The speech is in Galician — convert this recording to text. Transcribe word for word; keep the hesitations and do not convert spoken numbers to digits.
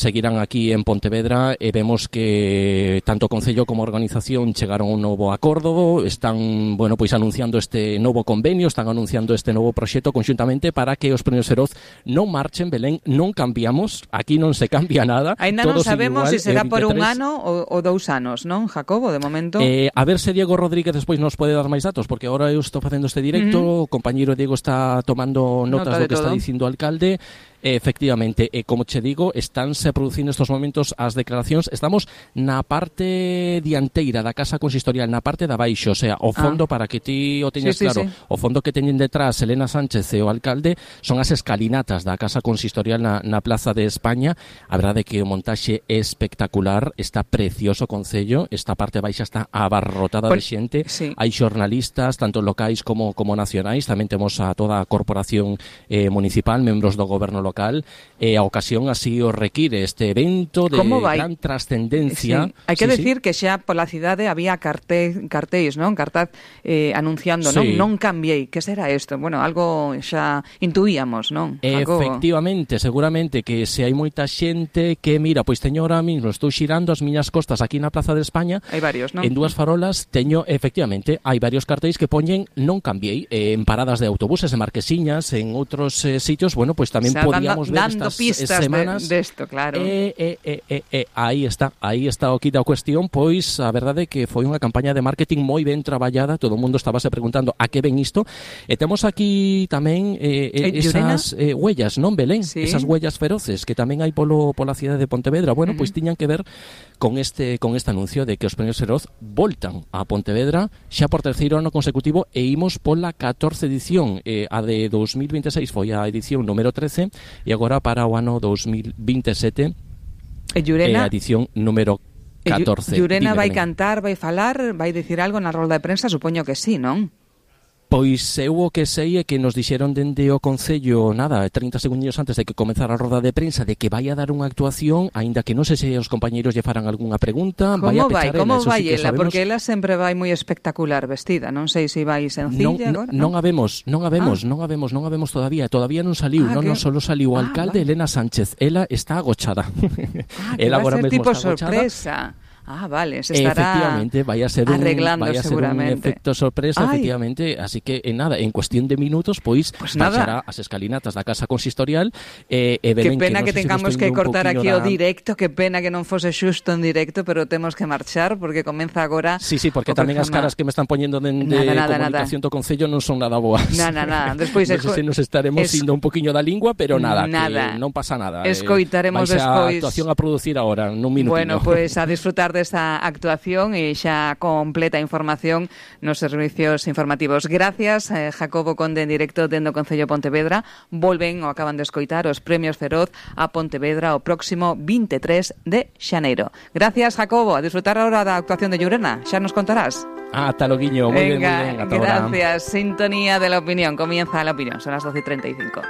seguirán aquí en Pontevedra e vemos que tanto o Concello como a organización chegaron a un novo acordo, están, bueno, pois anunciando este novo convenio, están anunciando este novo proxecto conxuntamente para que os Premios Feroz non marchen, Belén, non cambiamos, aquí non se cambia nada. Ainda non sabemos se si será por un ano ou, ou dous anos, non, Jacobo, de momento? Eh, a ver se Diego Rodríguez despois nos pode dar máis datos, porque agora eu estou facendo este directo, uh-huh. o compañeiro Diego está tomando notas Nota do que todo. Está dicindo o alcalde. Efectivamente, e como che digo, estánse producindo estos momentos as declaracións. Estamos na parte dianteira da casa consistorial, na parte de abaixo, o sea, o fondo, ah. para que ti o teñas sí, claro, sí, sí. o fondo que teñen detrás Elena Sánchez e o alcalde son as escalinatas da casa consistorial na, na Plaza de España. A verdade é que o montaxe é espectacular, está precioso o concello, esta parte baixa está abarrotada Por, de xente, sí. hai xornalistas, tanto locais como, como nacionais, tamén temos a toda a corporación eh, municipal, membros do goberno local, local, e a ocasión así o require este evento de gran trascendencia. Sí. Hai que sí, decir sí. que xa pola cidade había carte, cartéis, non? Cartaz eh, anunciando, sí. non? Non cambiei, que será isto? Bueno, algo xa intuíamos, non? Efectivamente, algo... seguramente que se hai moita xente que, mira, pois teño ahora mismo, estou xirando as miñas costas aquí na Plaza de España. Hai varios, non? En dúas farolas teño, efectivamente, hai varios cartéis que poñen non cambiei, eh, en paradas de autobuses, en Marquesiñas, en outros eh, sitios, bueno, pois tamén o sea, podíamos dando, ver dando estas pistas semanas de, de esto, claro. Eh, eh, eh, eh, eh, aí está, aí está o quita a cuestión, pois a verdade é que foi unha campaña de marketing moi ben traballada, todo o mundo estábase preguntando a que ven isto, e temos aquí tamén eh, eh, esas eh, huellas, non, Belén? Sí. Esas huellas feroces que tamén hai polo pola cidade de Pontevedra. Bueno, uh-huh. pois tiñan que ver con este con este anuncio de que os Premios Feroz voltan a Pontevedra xa por terceiro ano consecutivo e imos pola catorce edición, eh, a de dos mil veintiséis foi a edición número trece e agora para o ano dos mil veintisiete e Llurena, é a edición número catorce. Llurena vai cantar, vai falar, vai dicir algo na rolda de prensa, supoño que sí, non? Pois eu o que sei é que nos dixeron dende o Concello, nada, trinta segundos antes de que comezara a roda de prensa, de que vai a dar unha actuación, aínda que non sei se os compañeiros lle faran algunha pregunta. Como vai a vai? pechar Como ela, vai sí ela? sabemos... Porque ela sempre vai moi espectacular vestida, non sei se vai sencilla non, agora. Non, non a vemos, non a vemos, ah. non a vemos, non a vemos todavía, todavía non saliu, ah, non, que... non solo saliu o ah, alcalde vale. Elena Sánchez, ela está agochada. Ah, que ela vai agora ser mesmo tipo está sorpresa. Agochada. Ah, vale, se estará efectivamente, vai a ser un, arreglando vai a ser seguramente. un efecto sorpresa, Ay. efectivamente, así que en nada, en cuestión de minutos, pois pues baixará as escalinatas da casa consistorial e, e que pena que, que tengamos que cortar aquí da... o directo, que pena que non fose xusto en directo, pero temos que marchar porque comeza agora. Sí, sí, porque tamén as caras que me están poñendo de, de nada, nada, comunicación nada. do Concello non son nada boas. Nada, nada. Despois non sei se nos estaremos es... indo un poquinho da lingua, pero nada, nada. Que non pasa nada. Escoitaremos eh, despois. A actuación a producir agora, nun minutinho. Bueno, pois pues a disfrutar desta actuación e xa completa información nos servicios informativos. Gracias, eh, Jacobo Conde, en directo dende o Concello de Pontevedra. Volven, o acaban de escoitar, os Premios Feroz a Pontevedra o próximo veintitrés de xaneiro. Gracias, Jacobo. A disfrutar ahora da actuación de Llurena. Xa nos contarás. Ah, ata logo, moi ben, moi ben. Venga, gracias. Sintonía de la opinión. Comienza La Opinión. Son las doce y treinta y cinco.